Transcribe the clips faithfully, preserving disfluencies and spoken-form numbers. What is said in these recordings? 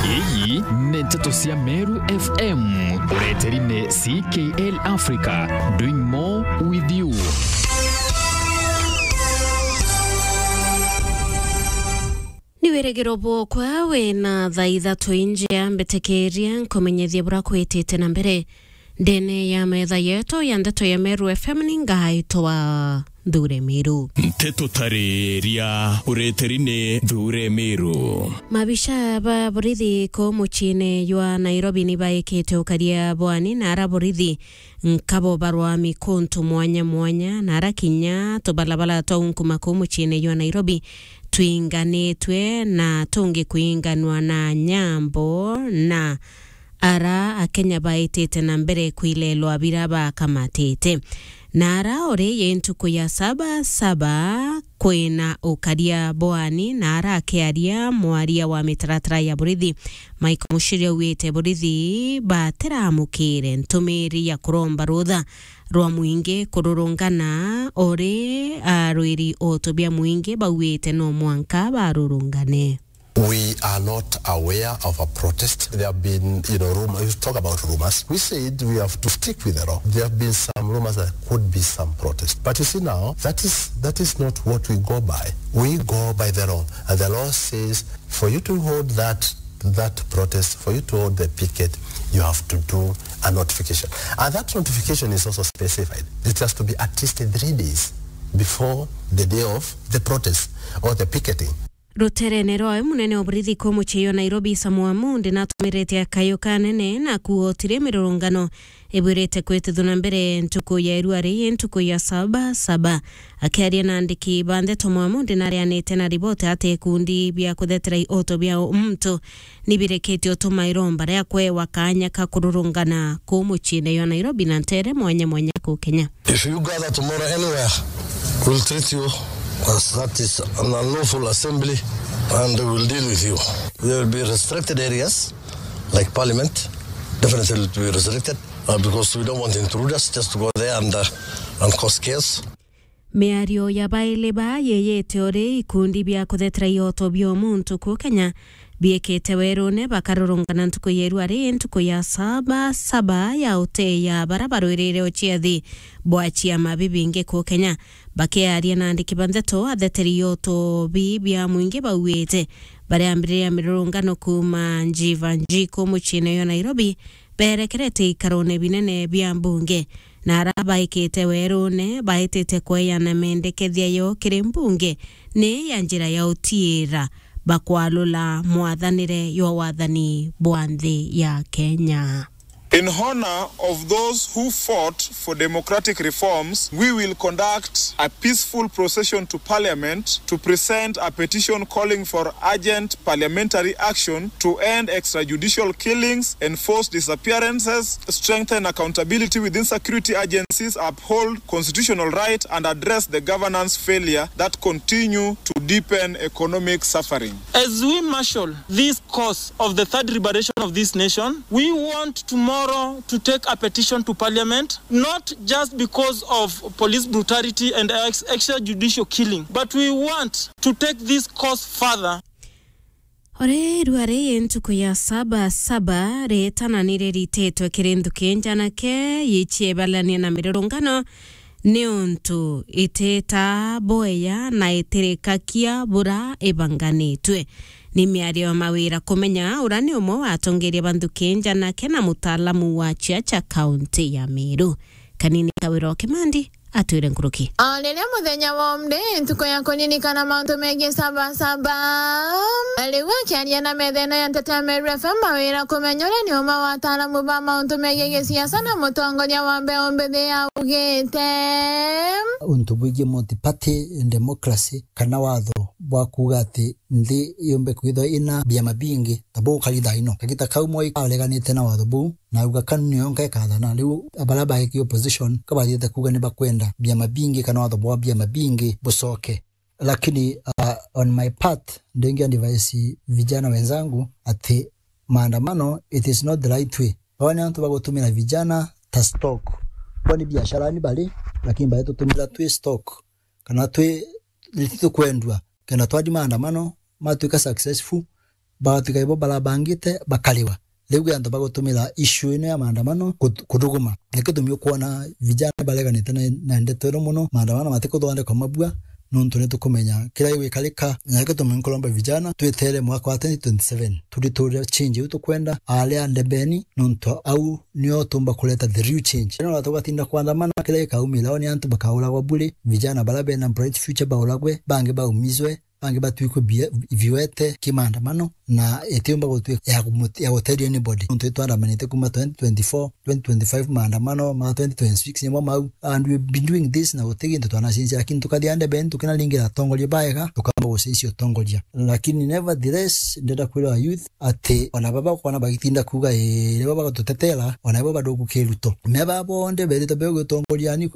Iyi ni nteto cia Meru F M, ureteri ni C K L Africa, doing more with you. Ni wirigiro bwokwa wina thaa ithatu injia, mbitikiria nkumenyethie bura kwitite na mbere. Ndene ya metha yetu ya ndeto ya Meru F M ni ngaitwa Nthure Miru. Nteto tariria ureteri ni Nthure Miru. Mabisha ba borithi ku muciine jwa Nairobi ni baikite ukaria bwani na ara borithi nkabo barwa mikuntu mwanya mwanya na ara kinya tubalabala twa unkuma ku muciine jwa Nairobi twinganitwe na tungi kwinganwa na nyambo na ara Akenya baitite na mbere kwilelwa bira bakamatite. Na ara uri yi ntuku ya saba saba kwina ukaria bwani, na ara akiaria mwaria wa mitaratara ya borithi, Mike Muchiri, augite borithi batiramukire ntumiri ya kuromba rutha rwa mwingi kururungana uri arwiri oto bia mwingi bauite no mwanka barurungane. We are not aware of a protest. There have been, you know, rumors. You talk about rumors. We said we have to stick with the law. There have been some rumors that could be some protest. But you see now, that is, that is not what we go by. We go by the law. And the law says for you to hold that, that protest, for you to hold the picket, you have to do a notification. And that notification is also specified. It has to be at least three days before the day of the protest or the picketing. Ruterene rwawe, munene wa borithi ku mucii jwa Nairobi, Samuel Amundi, natumirite akayo kanene na kuuga utiri mirurungano ibwirite kwitithua na mbere ntuku ya irua rii, ntuku ya saba saba. Akiaria na andiki ba ndeto, Mwamundi narianite na riboti ati ikundi bia kuthetera ioto bia muntu ni birekete utuma iromba ria kwewa kanya ka kururungana ku muciine jwa Nairobi na ntere mwanya mwanya ku Kenya. If you gather tomorrow anywhere, we'll treat you as that is an unlawful assembly and we'll deal with you. There will be restricted areas like parliament, definitely will be restricted, uh, because we don't want intruders just to go there and, uh, and cause chaos. Miario ya baili ba yeyete uri ikundi bia kuthetera ioto bia muntu ku Kenya biekete werune bakarurungana ntuku ya irua ri, ntuku ya saba saba ya uteya bara barwirire uciathi bwa ciama bibingi ku Kenya. Bakiaria na andiki ba ndeto, atheteri ioto bi bia mwingi bauite bariambiriria mirurungano kuuma Njiva Njiku muciine jwa Nairobi, berekerete ikarone binene bia mbunge, na ara baikite werune baitite kweana mendekethia yo kiri mbunge ni ya njira ya utiira bakwalula mwathanire jwa wathani bwa nthi ya Kenya. In honor of those who fought for democratic reforms, we will conduct a peaceful procession to Parliament to present a petition calling for urgent parliamentary action to end extrajudicial killings, enforce disappearances, strengthen accountability within security agencies, uphold constitutional right, and address the governance failure that continue to deepen economic suffering. As we marshal this cause of the third liberation of this nation, we want tomorrow to take a petition to parliament, not just because of police brutality and ex-, extrajudicial killing, but we want to take this cause further. Ore irua ri ntuku ya saba saba ritana ni rirititwe kiri nthuki njanake yiciebalania na mirurungano, niuntu itita boya na itirikakia bura ibanganitwe. Ni miario ya mawira kumenya ura ni umwe wa atongeria ba nthuki njanake na mutaalamu wa ciaca kaunti ya Meru. Kanini Kawira o Kimandi atwire nkuruki. O riria muthenya wa umde, ntuku ya kuririkana mauntu megii saba saba. Na riu akiaria na metha ino ya nteto ya Meru F M, mawira kumenya uria ni umwe wa ataalamu ba mauntu megii gisiasa na mutongoria wa mbeu mbithi augite, untu bwigii multi-party democracy kana watho bwa kuuga ati nthi yumbe kwithwa ina biama bingi, ta bukari thaa ino. Kagita kau Moi areganite na watho buu, na auga kanu niyo nka ikathana. Riu baria baiki opposition ka bathiite kuuga ni bakwenda biama bingi kana watho bwa biama bingi bucoke. Lakini, uh, on my part, ndingi advise vijana wenzangu ati maandamano, it is not the right way. Baba ni antu bagutumira vijana ta stock. Kwani biashara ni bari, lakini bari tutumira twi stock. Kana twi, ni tukwendua. Kenda twathi maandamano, matwika successful, bagatwika ibo barabangite bakariwa. Riu kwi antu bagutumira issue ino ya maandamano kut-, kuthuguma. Nikio gitumi ukwona vijana bareganite na, na ndeto ino mono, maandamano matikuthondekwa mabua, nontu nitukumenya kiria gigwikarika. Na nikio gitumi nkuromba vijana twetere mwaka wa twenty twenty-seven, turiture change iu tukwenda, aria ndebeni, nontu au nio tumba kureta the real change. Ino tugatinda kuandamana, kiria gikaumira ni antu bakauragwa bure, vijana baria bena bright future bauragwe, bangi baumizwe, bangi batwikwe bie-, viwete kimaandamano, na itiumba gutwika ya kumut-, ya guteria anybody. Nontu itwandamanite kuma twenty twenty-four, twenty twenty-five, maandamano ma twenty twenty-six nimo mau, and we've been doing this na guti gintu twanacenjia, lakini tukathia ndebeni tukinaringira atongoria baega, tukamba gucenjia utongoria. Lakini nevertheless, ndenda kwira youth ati ona baba ukona bagitinda kuuga, "Ii, nibo bagatutetera," ona ibo bado gukiruto. Me baba bonthe berite beo gutongoria ni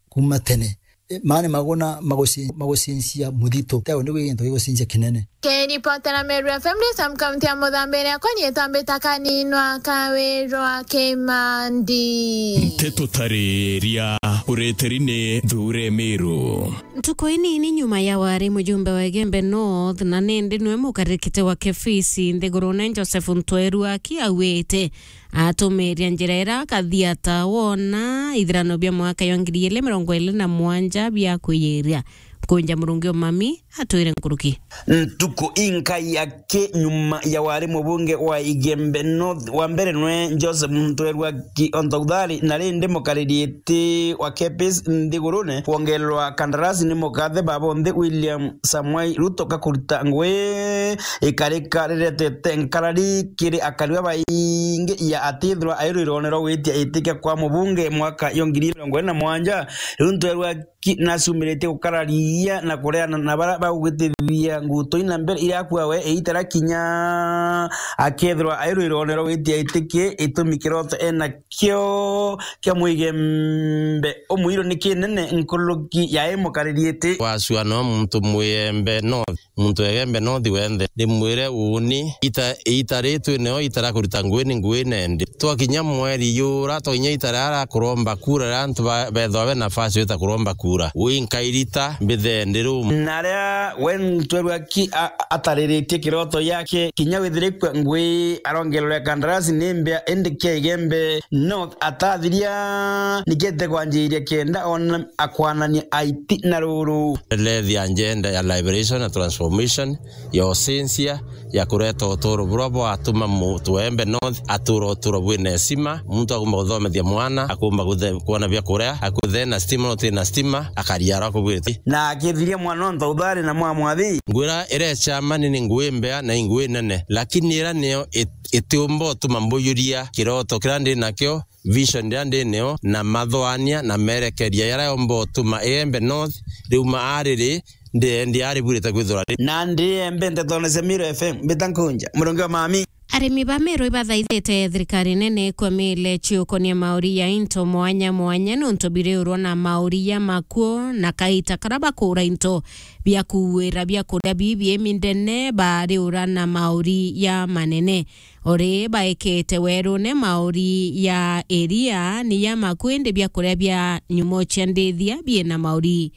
kuma tene. E, maani maguna maguci-, magucinjia muthito. Teo ni gwi gintu gigucinjia kinene. Kiripotera Meru F M, ndi Sam, kaunti ya Muthambi, riakwa ni itambita kaninwa Kawirwa Kimandi. Nteto tariria ureteri ni Thure Meru. Ntuku inini nyuma ya wari mujumbe wa Igembe North, na nindi niwe mukarikite wa Kebisi nthigurune, Joseph Ntweru Aki augite atumiria njira ira akathiata wona ithirano bia mwaka ya ngiri igiri mirongo iri na mugwanja bia kwiyiria. Kunja Murungi Omami atwire nkuruki. Ntuku inkai aki nyuma ya wari mubunge wa Igembe North wa mbere nwe Joseph Ntweru Aki Ontouthari, na rindi mukariri iti wa Kebisi nthigurune kwongererwa kandarasi ni mukathe baba bonthe William Samoei Ruto kakurita ngui ikarika riretete nkarari kiri akari babaingi ya atithirwa airwirone rwa gwitia itikia kwa mubunge mwaka yo ngiri mirongo iri na mwanja. Riu Ntweru Aki naciumiritie gukararia na kureana na baria bagugitithia nguto ina mbere iria akua we iitara kinya akethirwa airwirone rwa gwitia itikia itumi kiroto ena kio kia mwigembe umwiru ni kinene nkuruki ya imukariritie. Wacua no muntu mwiembe no Muntu egembe no thi wenthe. Ndimwire uuni, ita, ita ri twineo ita ria kurita ngui ni ngui nendi. Twakinya mweri yura, twakinya ita ria ria kuromba kura, ria antu ba, bethwa be nafasi yo ita kuromba kura. Wi nkairita, mbithe ndi rum. Na ria we Ntweru Aki a, atariritie kiroto yake, kinya withirikwe ngui arongererwa kandarasi ni mbia, indi kia Igembe North atathiria, nikete kwanjiria kenda ona akwanania aiti na ruru. Ndeleethia agenda ya liberation na transformation, ya ucenjia, ya kureta uturo buria bwatuma muntu wa Igembe North atura uturo bwina heshima, muntu akumba guthomethia mwana, akumba guthe-, kwona bia kuria, akuthe na stima, no ti na stima, akaria aria akubwirite. Na akithiria mwana Ontouthari na mwamwathi. Ngwira iria chama ni, ni ngui mbea na ingui nene, lakini iria niyo it-, itiumba utuma mbuyuria kiroto kiria ndi nakio, vision iria ndi nio, na mathwania na merekeria jaria yomba utuma Igembe North riuma ariri, ndiendi ari bwirite kwithirwa ri. Na ndiembe ntetone cia Meru F M, mbita nkunja, Murungi wa Mami. Arimi ba Meru ibathaithite thirikari nene ikwamile ciukonia mauri ya into mwanya mwanya, nontu biriurwa na mauri ya makuo na kaita karia bakuura into bia kuuira bia kuria bibi imi ndene bariura na mauri ya manene. Ori baikite werune mauri ya iria ni ya makuindi bia kuria bia nyumo cia ndithia biina mauri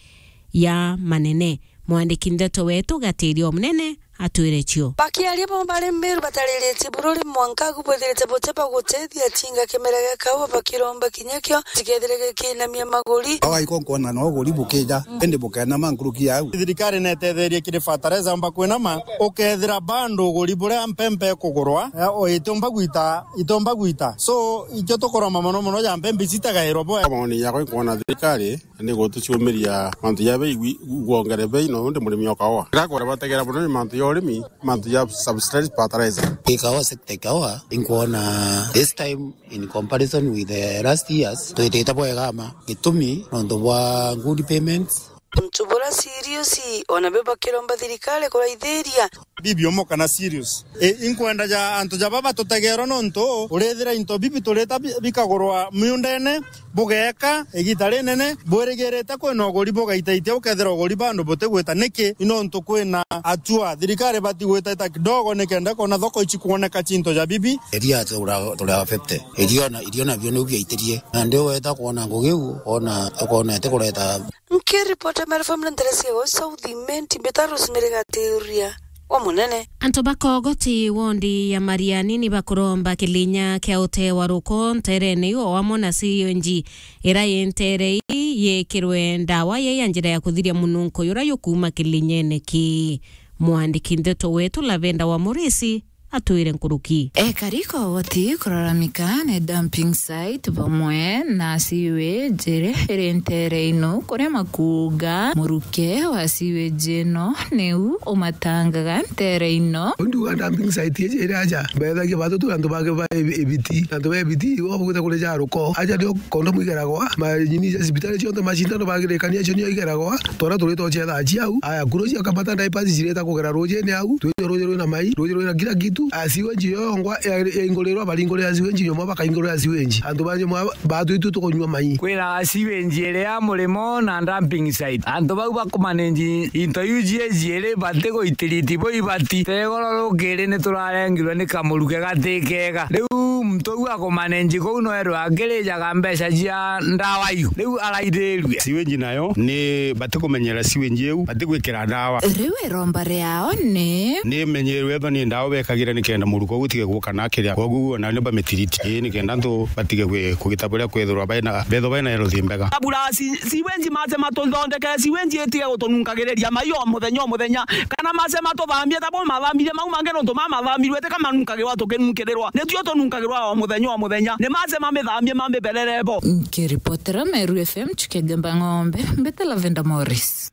ya manene. Mwandiki ndeto wetu Gatiria Omunene atwire cio. Bakiaria bo bari Meru batariritie bururi mwanka agu bwithirite buti bagutethia atinga kimera gia kaua bakiromba kinya kio tikethire gikinamia maguri. Awa iko nkwona no uguri bukija, indi bukenama nkuruki yau. Thirikari netetherie kiri fertilizer amba kwinama, ukethira bando uguri buria mpempe kugurwa, eh, o itumba gwita, itumba gwita. So, ikio tukuromba mono mono ja mpempe citagairwa bwe. Maoni yakwa nkwona thirikari ni gutuciumiria mantu ja bei gwi-, gwongere bei, no undi murimi o kaua. Gakwera bategera mono ni mantu ja urimi, mantu ja subsidized fertilizer. Ikawa sector ikawa, inkwona this time in comparison with the last years, twitite bwega ma gitumi nontu bwa good payments. Untu bura serious, ona be bakiromba thirikari kuraithiria. Bibi omo kana serious. E, inkwenda ja antu ja baba tutegerwa nontu urithira into bibi turita bi-, bikagurwa miundene, bugeeka igita rinene, bwirigirite kwina uguri bugaitaitia, ukethira uguri bandu butigwita. Niki? Ni nontu kwina atua thirikari bati gwitaita kidogo nikenda kona thoko ici kwoneka cinto ja bibi. Iria tura, tura fifty. Irio na, irio nabio niu biaitirie. Na ndi weta kwona ngugi u, ona, ukona iti kureta. Nkiripota Meru F M na ntere cia South Imenti, mbita Rosemary Gatiuria. umunene. Antu ba Kogoti wondi ya Mariani ni bakuromba kilinya kia utewa ruko nterene iu o amwe na sionji ira yi ntere ii yikirwe ndawa ya, ya njira ya kuthiria mununko yura yukuma kilinyene ki. Mwandiki ndeto wetu Lavenda wa Murisi atwire nkuruki. Ekari Kogoti kuraramika ni dumping site bamwe na sewage iri ntere ino kuria makuuga muruke wa sewage ino niu umatangaga ntere ino. Ndiuga dumping site iji iri aja, mbethagia batu tu antu bake ba ebi-, ebiti, antu ba ebiti, ibo bagwita kuria ja ruko. Aja nio kondomu igeragwa, manyini ja cibitari cionthe, macindano bagirikania, acio nio igeragwa. Twara turita ucetha aci au. Aya, kuro cia kamata diapers cirita kugera rujini au. Twita ruji rwina mai, ruji rwina kila kitu. A, sewage iyo yongwa ya, yaingurirwa, baringurira sewage nyuma, bakaingurira sewage. Antu ba nyuma batwitu tukunywa mai. Kwina sewage iria murimo na dumping site. Antu bau bakumanage into iu cie ciiri bati guitiriti bo ibati. Tegoro rukiri ni turarengirwe ni kamuruke gati kega. Riu muntu uu akumanage kuu no erwe akirijaga mbeca cia ndawa iu. Riu araithirue. Sewage nayo ni bati kumenyera sewage iu, bati gwikira ndawa. Riu iromba riao ni ni menyerwe ethwa ni ndawa bekagira nikenda muruko utige guka na kiria. Koguo na ni bamitiriti. Ii, nikenda antu batige kwi-, kugita buria kwithirwa baina, bethwa baina health mbega. Abura si-, sewage mace matuthondeke, sewage itige gutununkagiriria mai o muthenya o muthenya. Kana mace matuthambie ta bo mathambirie mau mangi nontu ma mathambirie ti kamanunkagira tukinunkirirwa. Nitio tununkagirwa o muthenya o muthenya. Ni mace mamithambie mamiberere bo. Nkiripotera Meru F M, Chukenge Mbang'ombe, mbete Lavenda Morris.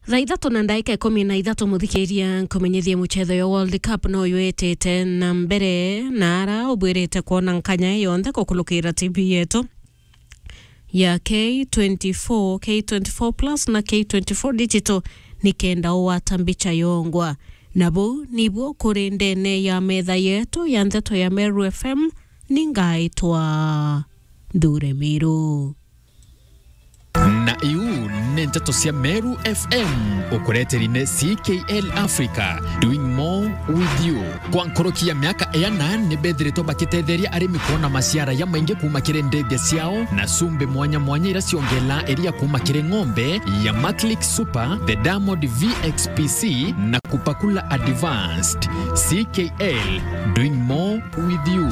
Thaa ithatu na ndaika ikumi na ithatu, muthikiria, nkumenyithie mucetho ya World Cup no yetete na mbere, na ara ubwirite kwona nkanya yonthe kukulukira T V yetu ya K twenty-four, K twenty-four Plus na K twenty-four Digital, nikenda ugwata mbicha yongwa. Na buu nibuo kuri ndene ya metha yetu ya ndeto ya Meru F M, ni ngaitwa Nthure Miru. Na iu ni nteto cia Meru F M, ukureteri ni C K L Africa, doing more with you. Kwa nkoroki ya miaka iana, ni bethiritwe bakitetheria arimi kwona maciara ya maingi kuuma kiri ndethia ciao na cumbi mwanya mwanya iria ciongela iria kuuma kiri ng'ombe ya Maclick Super, the Diamond V X P C na Kupakula Advanced. C K L, doing more with you.